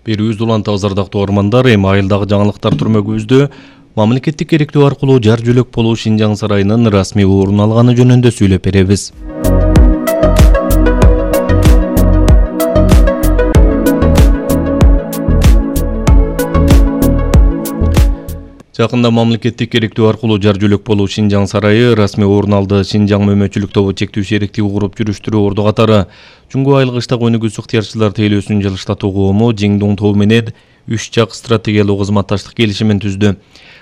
Берүүбүз улантабыз ардактуу угармандар, эми айылдагы жаңылыктар түрмөгүбүздө мамлекеттик керектөө аркылуу жар жөлөк болуу Шинжаң сарайынын расмий орун алганы жөнүндө сүйлөп беребиз. Жакында мамлекеттик керектөө аркылуу жар жөлөк болуу Шинжаң сарайы расмий орун алды. Шинжаң мөмөчүлүк тобу чектүү шериктиги куруп жүрүштүрүү орду катары Жуңгу айыл кыштак өнүгүүсү ыктыярчылар тейлөөсүнүн жылыштатуу коому Жиңдуң тобу менен 3 жак стратегиялык кызматташтык келишимин түздү.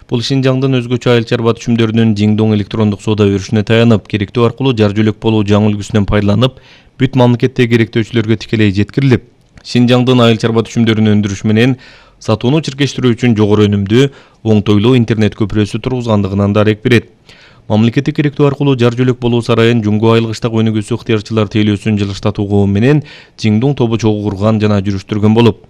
Бул Шинжаңдын өзгөчө айыл чарба түшүмдөрүнүн Жиңдуң электрондук соода өрүшүнө таянып, керектөө аркылуу жар жөлөк болуу жаңы үлгүсүнөн пайдаланып, бүт мамлекеттеги керектөөчүлөргө тикелей жеткирилип, Шинжаңдын айыл чарба түшүмдөрүн өндүрүш менен сатууну чиркештирүү үчүн жогору өнүмдүү, оңтойлуу интернет көпүрөсү тургузгандыгынан дарек берет. Мамлекеттик керектөө аркылуу жар жөлөк болуу сарайын Жуңгу айыл кыштак өнүгүүсү ыктыярчылар тейлөөсүнүн жылыштатуу коому менен Жиңдуң тобу чогуу курган жана жүрүштүргөн болуп,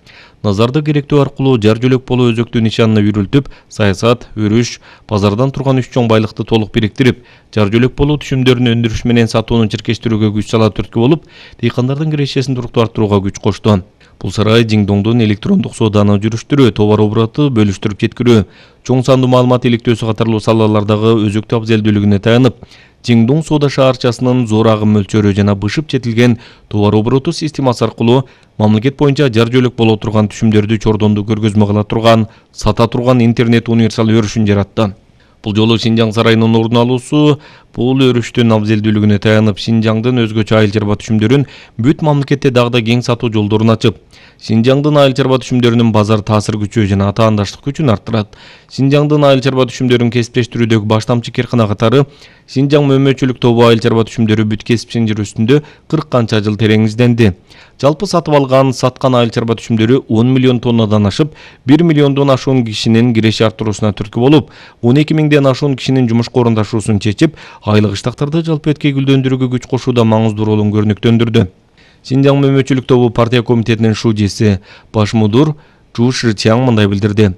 назарды керектөө аркылуу жар жөлөк болуу өзөктүү нишанына үйрүлтүп, саясат, өрүш, базардан турган 3 чоң байлыкты толук бириктирип, жар жөлөк болуу түшүмдөрүн өндүрүш менен сатууну чиркештирүүгө күч сала түрткү болуп, дыйкандардын кирешесин туруктуу арттырууга күч кошту. Бул сарай Жиңдуңдун электрондук сооданы жүрүштүрүү, товар обороту бөлүштүрүп жеткирүү, чоң сандуу маалымат иликтөөсү катарлуу салалардагы өзөктүү абзелдүүлүгүнө таянып, Жиңдуң соода шаарчасынын зор агым мөлчөрү жана бышып жетилген товар обороту системасы аркылуу мамлекет боюнча жар жөлөк боло турган түшүмдөрдү чордондуу көргөзмө кыла турган, сата турган интернет универсал өрүшүн жаратты. Бул жолу Шинжаң сарайынын орун алуусу бул өрүштүн абзелдүүлүгүнө таянып, Шинжаңдын өзгөчө айыл чарба түшүмдөрүн бүт мамлекетте дагы да кең сатуу жолдорун ачып, Шинжаңдын айыл чарба түшүмдөрүнүн базар таасир күчү жана атаандаштык күчүн арттырат. Шинжаңдын айыл чарба түшүмдөрүн кесиптештирүүдөгү баштамчы кээркана катары Шинжаң мөмөчүлүк тобу айыл чарба түшүмдөрү бүт кесип синжир үстүндө 40 канча жыл терең изденди. Жалпы сатып алган, саткан айыл чарба түшүмдөрү 10 миллион тоннадан ашып, 1 миллиондон ашуун кишинин киреше арттыруусуна түрткү болуп, 12 миңден ашуун кишинин жумушка орундашуусун чечип, айыл кыштактарды жалпы эткей гүлдөндүрүүгө күч кошууда маңыздуу ролун көрүнүктөндүрдү. Шинжаң мөмөчүлүк тобу партия комитетинин шужиси баш мудур Чу Шичаң мындай билдирди.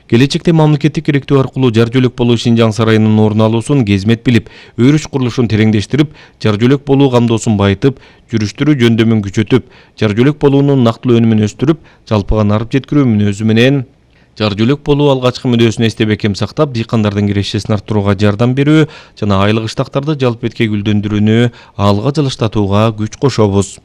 Келечекте мамлекеттик керектөө аркылуу жар жөлөк болуу Шинжаң сарайынын орун алуусун кезмет билип, өрүш курулушун тереңдештирип, жар жөлөк болуу камдоосун байытып, жүрүштүрүү жөндөмүн күчөтүп, жар жөлөк болуунун нактылуу өнүмүн өстүрүп, жалпыга нарып жеткирүү мүнөзү менен жар жөлөк болуу алгачкы мүнөзүн эсте бекем сактап, дыйкандардын кирешесин арттырууга жардам берүү жана айыл кыштактарды жалпы эткей гүлдөндүрүүнү алга жылыштатууга күч кошобуз.